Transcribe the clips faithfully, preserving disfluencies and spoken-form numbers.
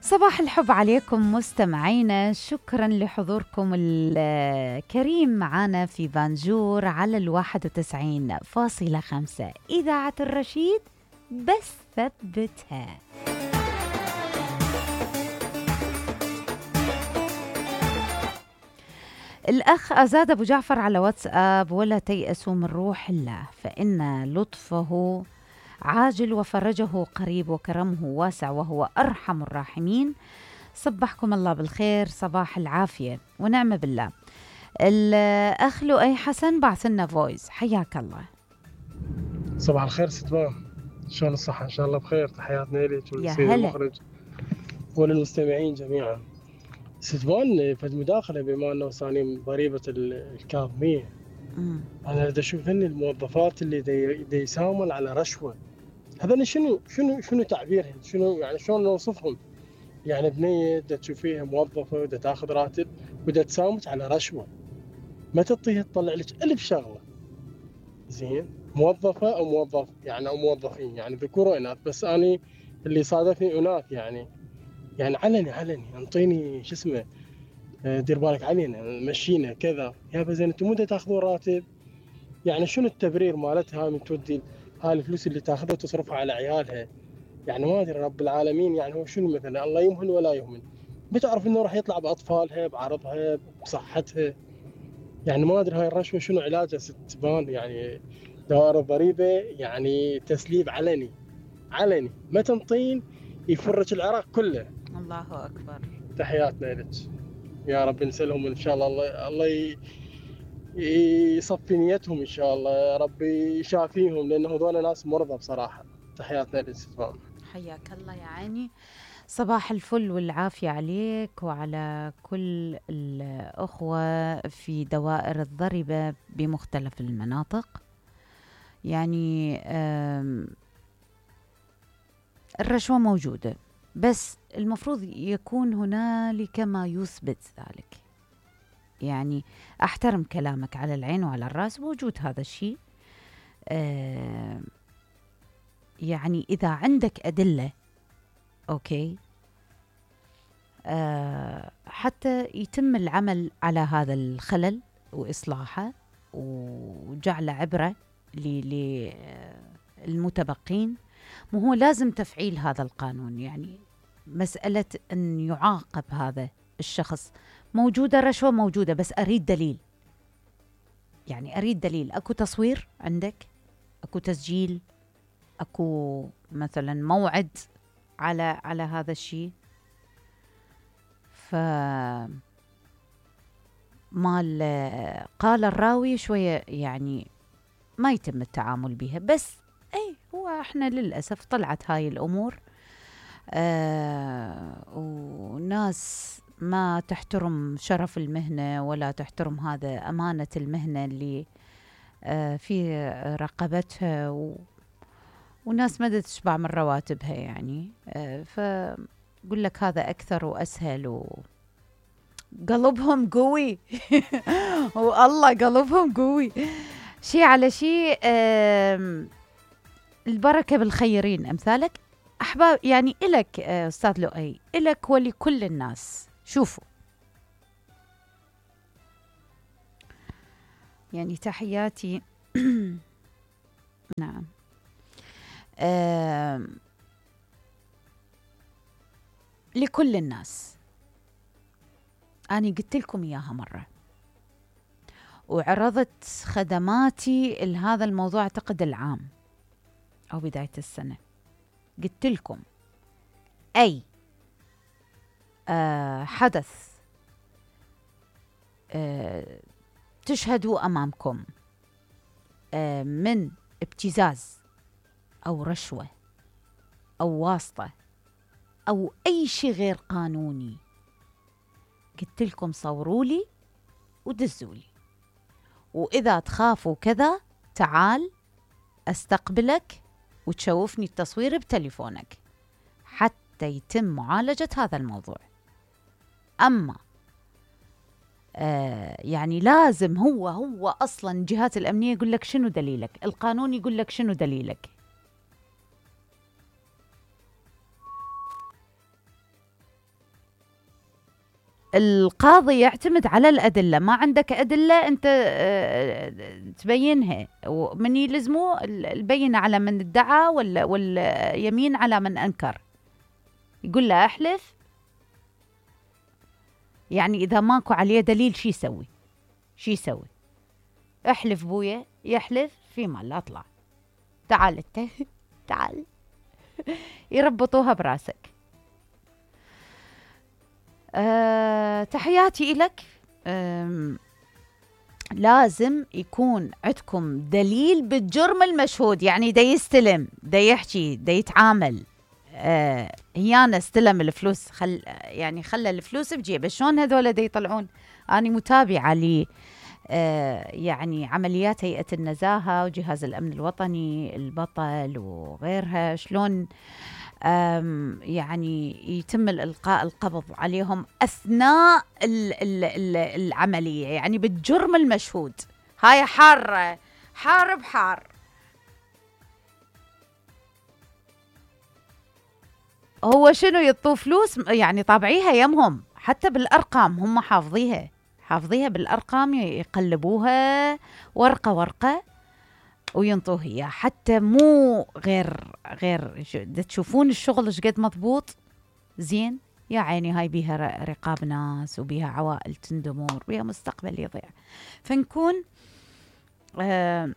صباح الحب عليكم مستمعينا، شكرا لحضوركم الكريم معنا في بانجور على الواحد وتسعين فاصلة خمسة إذاعة الرشيد، بس ثبتها. الأخ أزاد أبو جعفر على واتساب: ولا تيأسوا من روح الله فإن لطفه عاجل وفرجه قريب وكرمه واسع وهو أرحم الراحمين. صبحكم الله بالخير، صباح العافية ونعم بالله. الأخ لؤي حسن بعث لنا فويس، حياك الله. صباح الخير ستبان، شلون الصحة؟ إن شاء الله بخير. تحياتنا لك يا وللسيد هلا. المخرج وللمستمعين جميعا. ستبان فد مداخلة بما أنه ثاني ضريبة الكاظمية، أمم. أنا دا أشوف هن الموظفات اللي دي, دي يساومن على رشوة. هذول شنو شنو شنو تعبيرهم؟ شنو يعني شلون نوصفهم؟ يعني بنية دا تشوفيها موظفة ودا تاخذ راتب ودا تساومك على رشوة، ما تعطيها تطلع لك ألف شغلة. زين، موظفة أو موظف يعني أو موظفين يعني ذكور وإناث، بس أنا اللي صادفني إناث يعني يعني علني علني انطيني شو اسمه، آه، دير بالك علينا مشينا كذا. يا زين انتم متى تاخذون راتب؟ يعني شنو التبرير مالتها هاي من تودي هاي الفلوس اللي تاخذها وتصرفها على عيالها؟ يعني ما ادري رب العالمين يعني هو شنو مثلا، الله يمهن ولا يهمن. بتعرف انه راح يطلع باطفالها بعرضها بصحتها. يعني ما ادري هاي الرشوه شنو علاجها ستبان. يعني دوائر الضريبه يعني تسليب علني علني، ما تنطين يفرج العراق كله. الله أكبر. تحياتنا لك، يا رب نسلهم ان شاء الله. الله الله ي- يصفي نيتهم ان شاء الله، يا رب يشافيهم، لانه هذول ناس مرضى بصراحه. تحياتنا لك ستبان. حياك الله يا عيني، صباح الفل والعافية عليك وعلى كل الأخوة في دوائر الضريبة بمختلف المناطق. يعني آم، الرشوة موجودة، بس المفروض يكون هنالك ما يثبت ذلك. يعني أحترم كلامك على العين وعلى الرأس، وجود هذا الشيء. آم، يعني إذا عندك أدلة أوكي، آه، حتى يتم العمل على هذا الخلل وإصلاحه وجعل عبرة للمتبقين. مو هو لازم تفعيل هذا القانون، يعني مسألة أن يعاقب هذا الشخص. موجودة رشوة موجودة، بس أريد دليل. يعني أريد دليل، أكو تصوير عندك، أكو تسجيل، أكو مثلا موعد على على هذا الشيء. ف مال قال الراوي شوية يعني ما يتم التعامل بها. بس اي هو احنا للأسف طلعت هاي الأمور، آه وناس ما تحترم شرف المهنة ولا تحترم هذا أمانة المهنة اللي آه في رقبتها، و وناس ما تشبع من رواتبها. يعني آه فقل لك هذا أكثر وأسهل، و قلبهم قوي والله قلبهم قوي. شي على شي. البركة بالخيرين أمثالك أحباب. يعني إلك أستاذ لؤي، إلك ولكل الناس. شوفوا، يعني تحياتي نعم. لكل الناس، أنا قلت لكم إياها مرة وعرضت خدماتي لهذا الموضوع أعتقد العام أو بداية السنة. قلت لكم أي آه حدث آه تشهدوا أمامكم آه من ابتزاز أو رشوة أو واسطة أو أي شيء غير قانوني، قلت لكم صوروا لي ودزوا لي، وإذا تخافوا كذا تعال أستقبلك وتشوفني التصوير بتليفونك حتى يتم معالجة هذا الموضوع. أما آه يعني لازم هو هو أصلا الجهات الأمنية يقول لك شنو دليلك، القانون يقول لك شنو دليلك. القاضي يعتمد على الأدلة. ما عندك أدلة أنت تبينها، ومن يلزمه البينة على من ادعى واليمين على من أنكر. يقول له أحلف، يعني إذا ماكو عليه دليل شي يسوي؟ شي يسوي؟ احلف بويا، يحلف في مال لا اطلع، تعال انت تعال، يربطوها براسك. أه تحياتي إلك. أه لازم يكون عندكم دليل بالجرم المشهود، يعني دا يستلم، دا يحكي، دا يتعامل. أه هيانا استلم الفلوس، خل يعني خلى الفلوس بجيبه. شلون هذول دا يطلعون؟ أنا متابعة لي أه يعني عمليات هيئة النزاهة وجهاز الأمن الوطني البطل وغيرها، شلون يعني يتم الإلقاء القبض عليهم أثناء ال ال ال العملية، يعني بالجرم المشهود. هاي حارة حار بحار. هو شنو يطوا فلوس يعني طابعيها يمهم، حتى بالأرقام هم حافظيها حافظيها بالأرقام، يقلبوها ورقة ورقة وينطوه إياه، حتى مو غير غير تشوفون الشغل ايش قد مضبوط زين. يا عيني هاي بيها رقاب ناس وبيها عوائل تندمر وبيها مستقبل يضيع. فنكون آه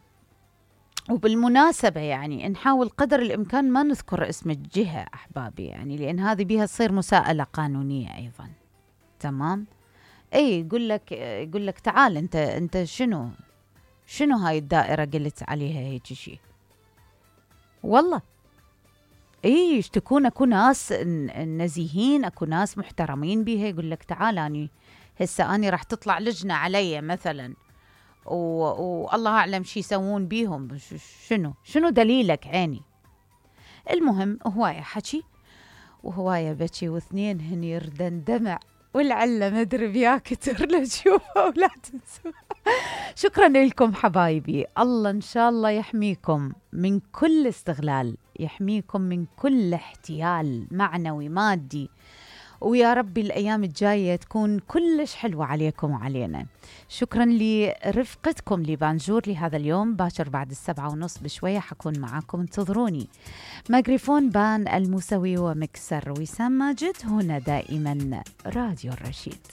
وبالمناسبة يعني نحاول قدر الإمكان ما نذكر اسم الجهة أحبابي، يعني لأن هذه بيها تصير مساءلة قانونية أيضا. تمام. اي يقول لك يقول لك تعال انت انت شنو شنو هاي الدائرة قلت عليها هيك شيء؟ والله اي يشتكون، اكو ناس نزيهين، اكو ناس محترمين بيها. يقول لك تعال اني هسه اني راح تطلع لجنة علي مثلا، والله اعلم شي يسوون بيهم، شنو شنو دليلك عيني؟ المهم هواية حكي وهواية بكي، واثنين هن يردن دمع، والعلة مدري بيا كتر لتشوفها ولا تنسوا. شكرا لكم حبايبي، الله إن شاء الله يحميكم من كل استغلال، يحميكم من كل احتيال معنوي مادي، ويا ربي الأيام الجاية تكون كلش حلوة عليكم وعلينا. شكرا لرفقتكم لبانجور لهذا اليوم. باكر بعد السبعة ونص بشوية حكون معاكم، انتظروني. ميكروفون بان الموسوي ومكسر وسام ماجد، هنا دائما راديو الرشيد.